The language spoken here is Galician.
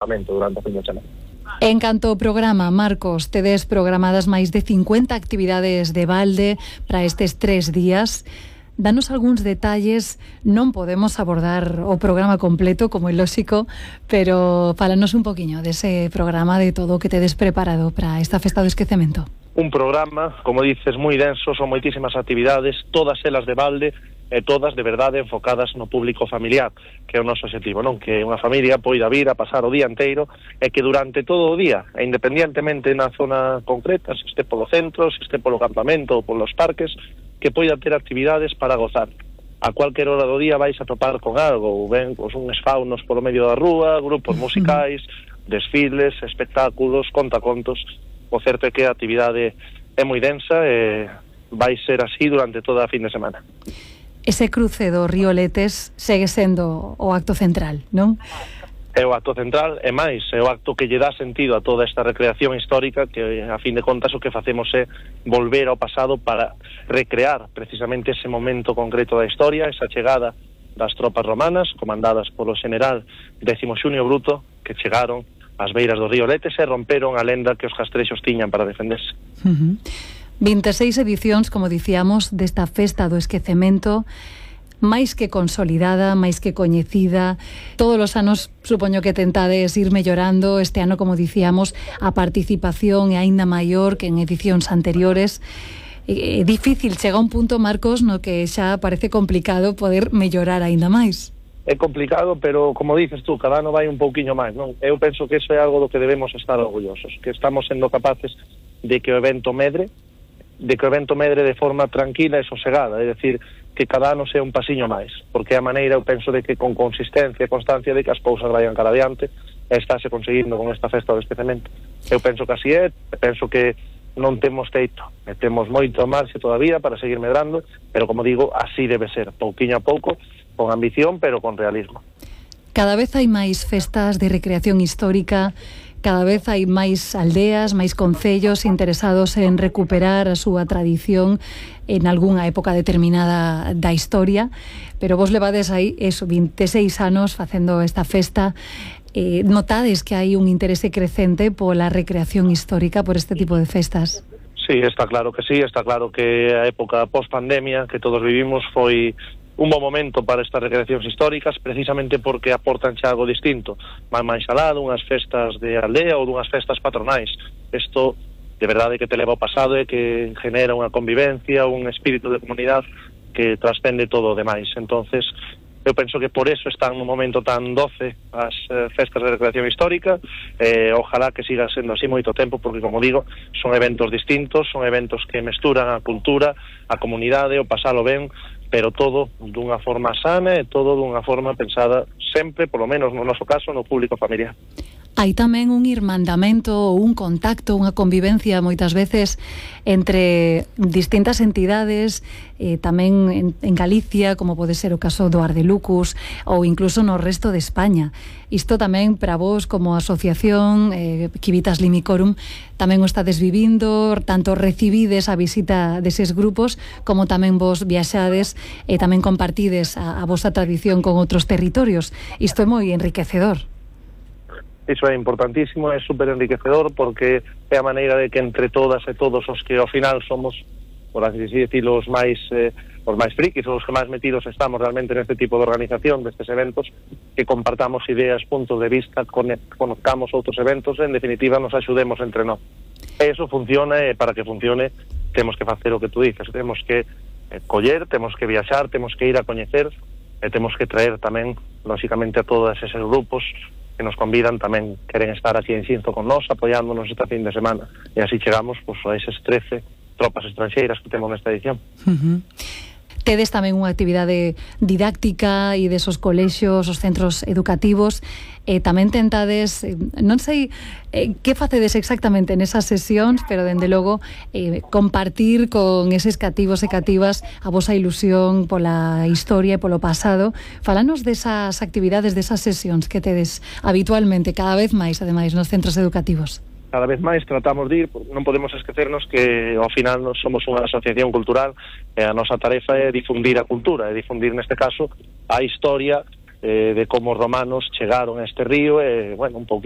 durante a fin de semana. En canto ao programa, Marcos, tedes programadas máis de 50 actividades de balde para estes 3 días. Danos algúns detalles, non podemos abordar o programa completo, como é lóxico, pero fálanos un poquinho dese programa, de todo o que tedes preparado para esta festa do esquecemento. Un programa, como dices, moi denso, son moitísimas actividades, todas elas de balde, e todas de verdade enfocadas no público familiar, que é o noso objetivo, non? Que unha familia poida vir a pasar o día inteiro e que durante todo o día, e independientemente na zona concreta, se este polo centro, se este polo campamento ou polos parques, que poida ter actividades para gozar. A cualquier hora do día vais a topar con algo, ou ben, pues, uns faunos polo medio da rúa, grupos musicais, desfiles, espectáculos, contacontos. O certo é que a actividade é moi densa e vai ser así durante toda a fin de semana. Ese cruce do río Letes segue sendo o acto central, non? É o acto central, e máis, é o acto que lle dá sentido a toda esta recreación histórica, que a fin de contas o que facemos é volver ao pasado para recrear precisamente ese momento concreto da historia, esa chegada das tropas romanas, comandadas polo general Décimo Xunio Bruto, que chegaron ás beiras do río Letes e romperon a lenda que os castrexos tiñan para defenderse. 26 edicións, como dicíamos, desta festa do esquecemento, máis que consolidada, máis que coñecida. Todos os anos supoño que tentades ir mellorando. Este ano, como dicíamos, a participación é aínda maior que en edicións anteriores. É difícil, chega un punto, Marcos, no que xa parece complicado poder mellorar aínda máis. É complicado, pero como dices tú, cada ano vai un pouquiño máis, non? Eu penso que iso é algo do que debemos estar orgullosos, que estamos sendo capaces de que o evento medre de forma tranquila e sosegada, é dicir, que cada ano sea un pasiño máis, porque a maneira, eu penso, de que con consistencia e constancia de que as cousas vayan cara adiante, estáse conseguindo con esta festa do esquecemento. Eu penso que así é, penso que non temos teito, temos moito marxe todavía para seguir medrando, pero como digo, así debe ser, pouquiño a pouco, con ambición, pero con realismo. Cada vez hai máis festas de recreación histórica, cada vez hai máis aldeas, máis concellos interesados en recuperar a súa tradición en algunha época determinada da historia, pero vos levades aí 26 anos facendo esta festa. Notades que hai un interese crecente pola recreación histórica, por este tipo de festas? Sí, está claro que sí, está claro que a época post-pandemia que todos vivimos foi un bom momento para estas recreacións históricas, precisamente porque aportan xa algo distinto, máis alá dunhas festas de aldea ou dunhas festas patronais. Isto, de verdade, que te leva ao pasado e que genera unha convivencia, un espírito de comunidade que trascende todo o demais. Entonces, eu penso que por eso están nun momento tan doce as festas de recreación histórica, ojalá que siga sendo así moito tempo, porque, como digo, son eventos distintos, son eventos que mesturan a cultura, a comunidade, o pasalo ben, pero todo dunha forma sana e todo dunha forma pensada sempre, polo menos no noso caso, no público familiar. Hai tamén un irmandamento, un contacto, unha convivencia moitas veces entre distintas entidades, tamén en Galicia, como pode ser o caso do Ardelucus, ou incluso no resto de España. Isto tamén para vos como asociación Civitas Limicorum tamén o estades vivindo, tanto recibides a visita deses grupos como tamén vos viaxades e tamén compartides a vosa tradición con outros territorios. Isto é moi enriquecedor. Iso é importantísimo, é super enriquecedor, porque é a maneira de que entre todas e todos os que ao final somos, por así decirlo, os máis frikis, os que máis metidos estamos realmente neste tipo de organización destes eventos, que compartamos ideas, puntos de vista, conozcamos outros eventos, en definitiva nos axudemos entre nós. E iso funciona, e para que funcione temos que facer o que tú dices, temos que coller, temos que viaxar, temos que ir a coñecer, e temos que traer tamén, lóxicamente, a todos eses grupos que nos convidan, tamén queren estar aquí en Xinzo con nós, apoiándonos esta fin de semana, e así chegamos a eses 13 tropas estranxeiras que temos nesta edición. Tedes tamén unha actividade didáctica e desos colexios, os centros educativos, tamén tentades, non sei que facedes exactamente nesas sesións, pero dende logo compartir con eses cativos e cativas a vosa ilusión pola historia e polo pasado. Falanos desas actividades, desas sesións que tedes habitualmente, cada vez máis, ademais, nos centros educativos. Cada vez máis tratamos de ir, non podemos esquecernos que ao final nos somos unha asociación cultural e a nosa tarefa é difundir a cultura, e difundir neste caso a historia de como os romanos chegaron a este río e, bueno, un pouquiño